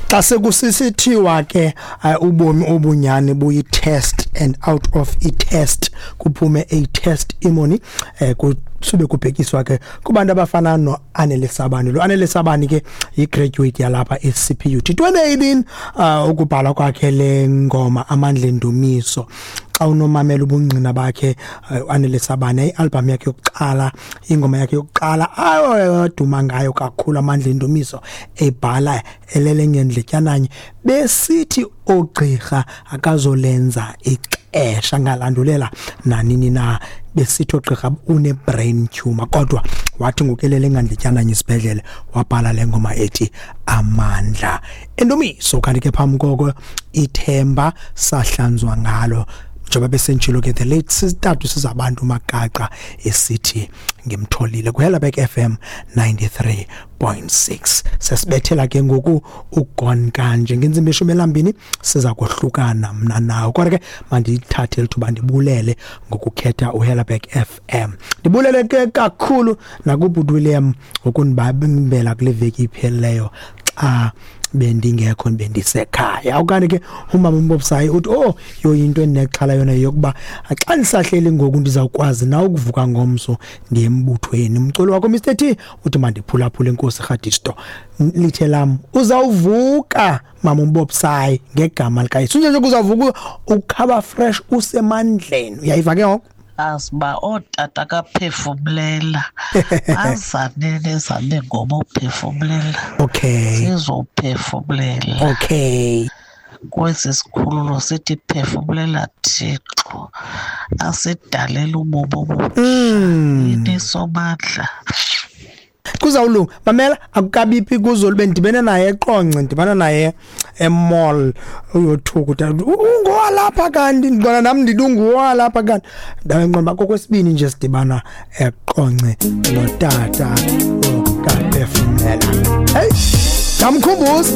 Xa sekusisithiwa ke ubomi obunyani buyi-test and out of i-test kuphume a testimony, kusube kubhekiswa ke kubantu abafana no-Anele Sabani. Lo Anele Sabani ke yi-graduate yalapha e-CPUT 2018, ukubhala kwakhe le ngoma Amandla Endumiso. Xa unomamela ubungqina bakhe uAnele Sabani, i-album yakhe yokuqala, ingoma yakhe yokuqala aduma ngayo kakhulu, Amandla Endumiso, ebhala elele ngendletyananye, besithi ogqirha akazolenza ixesha, ngalandulela nanini na, besithi ogqirha une-brain tumor, kodwa wathi ngokelele ngandletyananye isibhedlele wabhala le ngoma ethi Amandla Endumiso. Kanti ke phambi koko, Ithemba Sahlanzwa Ngalo, njengoba besentshilo ke the late sisitatu sizabantu Magaqa esithi Ngimtholile kuHelabek FM 93.6. Sesibethela ke ngoku ugon kanje ngentsimbi 12, siza kohlukana mna nawe, kodwa ke mandithathe lithuba ndibulele ngokukhetha uHelabek FM. Ndibulele ke kakhulu nakubhuti William ngokundibambela kule veki iphelileyo xa bendingekho, bendisekhaya. Okanye ke umama uMbobsayi uthi, "Oh, yo, into endinexhala yona yokuba xa ndisahleli ngoku ndizawukwazi na ukuvuka ngomso ndiye embuthweni?" Umculo wakho Mr T uthi mandiphulaphule. Inkosi Rhadisto lithe lam uzawuvuka, mama uMbobsayi, ngegama likaYesu. Nje uzawuvuka ukhaba fresh, usemandleni. Uyayiva ke ngoku. Aziba ootata kaphefumlela azane nezame ngoma uphefumlela. Sizophefumlela kwesi sikhululo, sithi phefumlela Thixo asidalela ubomi obutsha. Yini Somandla. Kuzawulunga, mamela, akukabiphi kuzolube ndibene naye eQonce, ndibana naye emall, uyothuka utata, "Ungowalapha kanti?" Ndibona nam ndithi ungowalapha kanti. Ndawenqoba kokwesibini nje sidibana eQonce notata okaphefumlela. Hey, ndamkhumbuza.